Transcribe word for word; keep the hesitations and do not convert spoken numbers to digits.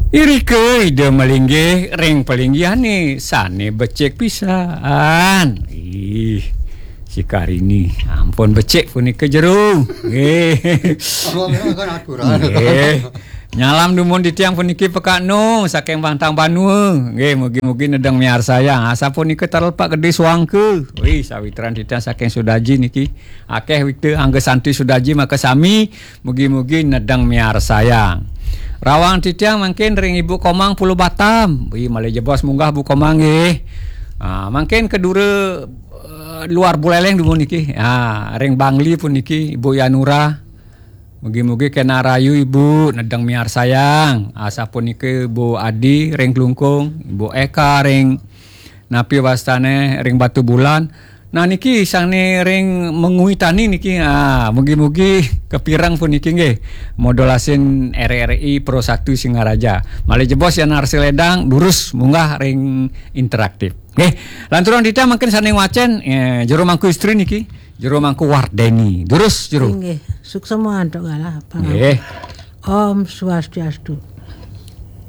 Irika Ida malinggih ring palinggihane sane becik pisan. Ih, si Karini, ampun becik punika jero. Nggih. Nggih. Nyalam dumun titiang puniki Pekak Nu saking Bantang Banua. Nggih, mugi-mugi nedeng miarsayang. Asapunika Tara Lepak Gede Suangka. Wih, sawitran titiang saking Sudaji niki. Akeh wita angga santi Sudaji makasami. Mugi-mugi nedeng miarsayang. Rawang titiang mangkin ring Ibu Komang Pulau Batam. Wih, malih jebos munggah Bu Komang nggih. Ah, mangkin kedura eh, luar Buleleng dumun niki. Ah, ring Bangli puniki Ibu Yanura. Mugi-mugi kena rayu Ibu nedeng miarsayang. Asapunika Ibu Adi ring Klungkung, Ibu Eka ring napi wastane ring Batu Bulan. Nah niki sane ring Mengwi Tani niki. Ah, mugi-mugi kapireng puniki nggih. Modulasin R R I Pro satu Singaraja. Malih jebos Yan Arsi Ledang durus munggah ring interaktif. Nggih, lanturang titiang mangkin sane ngwacen eh, jero mangku istri niki, jero mangku Wardeni. Durus jero. Inggih, suksma antuk galah. Nggih. Om Swastiastu.